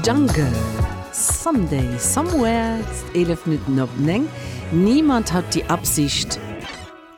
Jungle, Someday, Somewhere, 11 Minutten op 9. Niemand hat die Absicht,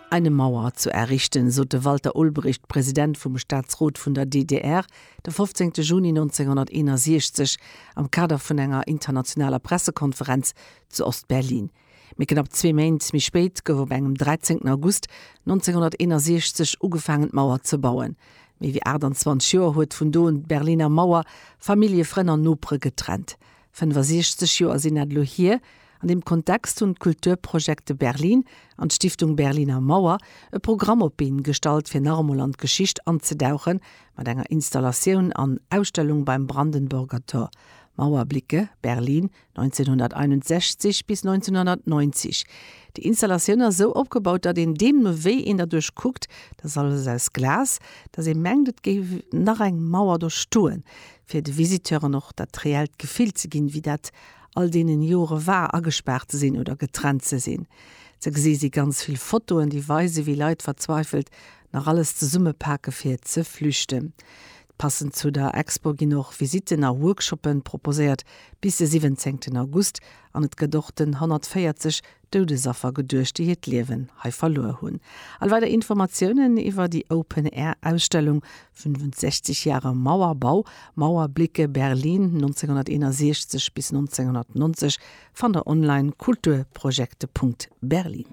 eine Mauer zu errichten, sot de Walter Ulbricht, President vum Staatsrot vun der DDR, de 15 Juni 1961 am Kader vun enger internationaler Pressekonferenz zu Ost-Berlin. Mee knapp zwee Méint méi spéit gouf op engem 13 August 1961 ugefaangen d'Mauer ze bauen. Méi wéi 28 Joer huet vun do un d'Berliner Mauer Famillje, Frënn an Nopere getrennt. 65 Joer sinn dat elo hier. An deem Kontext hunn d'Kulturprojekte Berlin an d'Stiftung Berliner Mauer e Programm op d'Been gestallt, fir nach emol an d'Geschicht anzedauchen, mat enger Installatioun an Ausstellung beim Brandenburger Tor. Mauerblicke Berlin 1961 bis 1990. Déi Installatioun ass esou opgebaut, datt een deemno wéi een derduerch kuckt, dat ass alles aus Glas, datt ee mengt et géif nach eng Mauer do stoen, fir de Visiteuren och dat reellt Gefill ze ginn, wéi dat all deenen Jore war, agespaart ze sinn oder getrennt ze sinn. Ze gesi si ganz vill Fotoen, déi weisen, wéi Leit verzweifelt nach alles zesummepake fir ze flüchten. Passend zu der Expo ginn och Visitten a Workshoppen proposéiert bis de 17 August an et gëtt och den 140 Doudesaffer geduecht, déi hiert Liewen hei verluer hunn. All weider Informatiounen iwwer déi Open Air Ausstellung 65 Jahre Mauerbau, Mauerblicke Berlin 1961 bis 1990 fannt der online kulturprojekte.berlin.